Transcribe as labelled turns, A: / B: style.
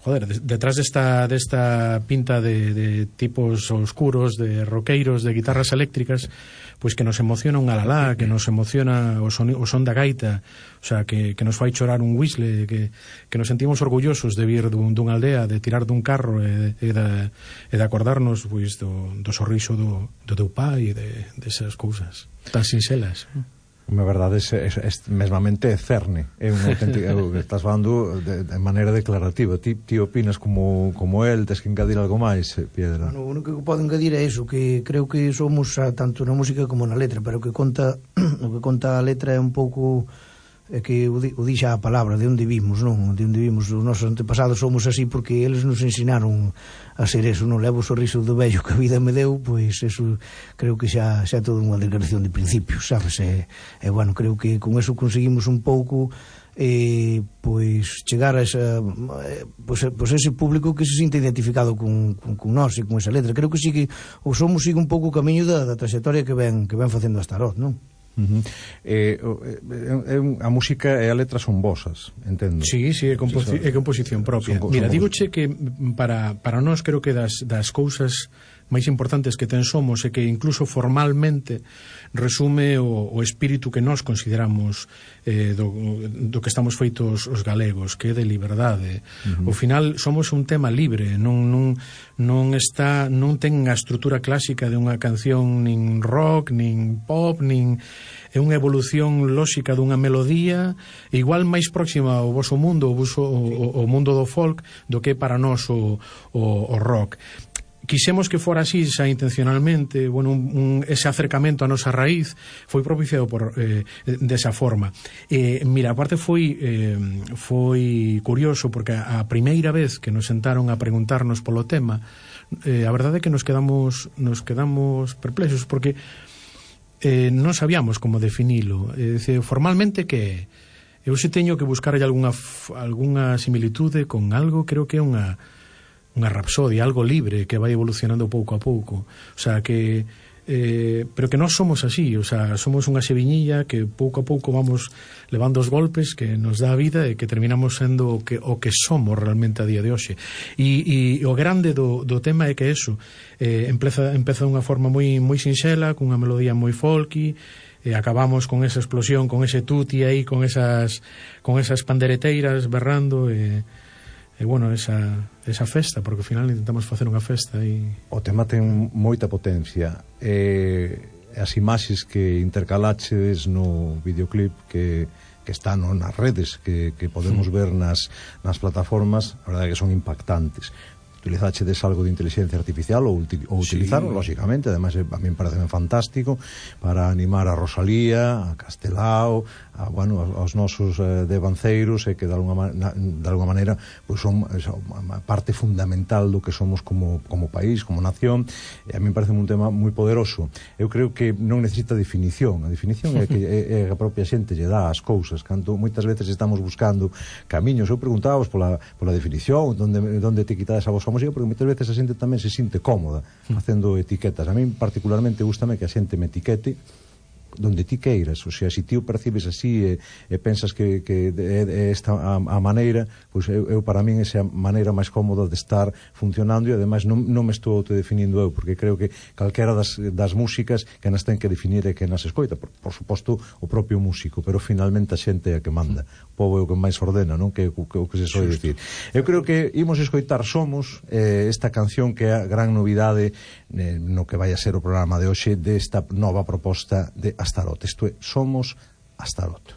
A: joder, detrás desta pinta de tipos oscuros, de roqueiros, de guitarras eléctricas, pois que nos emociona un alalá, que nos emociona o son da gaita, o sea, que nos fai chorar un whistle, que nos sentimos orgullosos de vir dunha aldea, de tirar dun carro e de acordarnos pois do sorriso do teu pai e desas cousas tan sinxelas.
B: Na verdade, mesmamente é cerne. É un auténtico... Estás falando de maneira declarativa. Ti opinas como el? Tes que engadir algo máis, Piedra?
C: O único que podo engadir é iso, que creo que somos tanto na música como na letra, pero o que conta a letra é un pouco... é que o dixa a palabra, de onde vimos, non? De onde vimos, os nosos antepasados somos así porque eles nos ensinaron a ser eso, non? Levo o sorriso do vello que a vida me deu, pois eso creo que xa é toda unha declaración de principios, sabes? E bueno, creo que con eso conseguimos un pouco pois chegar a esa pois ese público que se sinta identificado con nós e con esa letra. Creo que sigue un pouco o camiño da trayectoria que ven facendo a Astaroth, non?
B: A música e a letra son vosas, entendo.
A: Sí, é composición propia. Mira, dígoche que para nós creo que das cousas máis importantes que ten Somos é que incluso formalmente resume o espírito que nós consideramos do que estamos feitos os galegos, que é de liberdade. Ao final somos un tema libre, non ten a estrutura clásica de unha canción nin rock, nin pop, nin é unha evolución lóxica dunha melodía igual máis próxima ao voso mundo, o mundo do folk, do que para nós o rock. Quixemos que fora así xa intencionalmente, bueno, ese acercamento a nosa raíz foi propiciado desa forma. Mira, aparte foi curioso porque a primeira vez que nos sentaron a preguntarnos polo tema, a verdade é que nos quedamos perplexos porque non sabíamos como definilo. Formalmente que eu se teño que buscar algunha similitude con algo, creo que é unha rapsodia, algo libre que vai evolucionando pouco a pouco, o sea que pero que nós somos así, o sea, somos unha seviñilla que pouco a pouco vamos levando os golpes que nos dá a vida e que terminamos sendo o que somos realmente a día de hoxe. E o grande do tema é que eso empeza dunha forma moi sinxela, cunha melodía moi folky, e acabamos con esa explosión, con ese tuti aí, con esas pandereteiras berrando e bueno, esa festa, porque ao final intentamos facer unha festa e...
B: O tema ten moita potencia. As imaxes que intercalaches no videoclip que están nas redes, que podemos ver nas plataformas, a verdade é que son impactantes. Utilizachedes algo de inteligencia artificial ou utilizaron, lógicamente, ademais a mí me parece fantástico para animar a Rosalía, a Castelao, aos nosos devanceiros, e que de alguma maneira pois son a parte fundamental do que somos como país, como nación, e a mí me parece un tema moi poderoso. Eu creo que non necesita definición, a definición é que a propia xente lle dá as cousas, canto moitas veces estamos buscando camiños. Eu preguntábamos pola definición, onde te quitades a vosa música, porque moitas veces a xente tamén se sinte cómoda facendo etiquetas. A mí particularmente gústame que a xente me etiquete donde ti queiras, o sea, se ti o percibes así e pensas que é esta a maneira, pois eu para min esa maneira máis cómoda de estar funcionando, e ademais non me estou autodefinindo eu, porque creo que calquera das músicas que nas ten que definir é que nas escoita, por suposto o propio músico, pero finalmente a xente é a que manda, o povo é o que máis ordena, non? Que o que se soe dicir. Eu creo que imos escoitar Somos, esta canción que é a gran novidade no que vai a ser o programa de hoxe desta nova proposta de Astaroth. Isto é Somos Astaroth.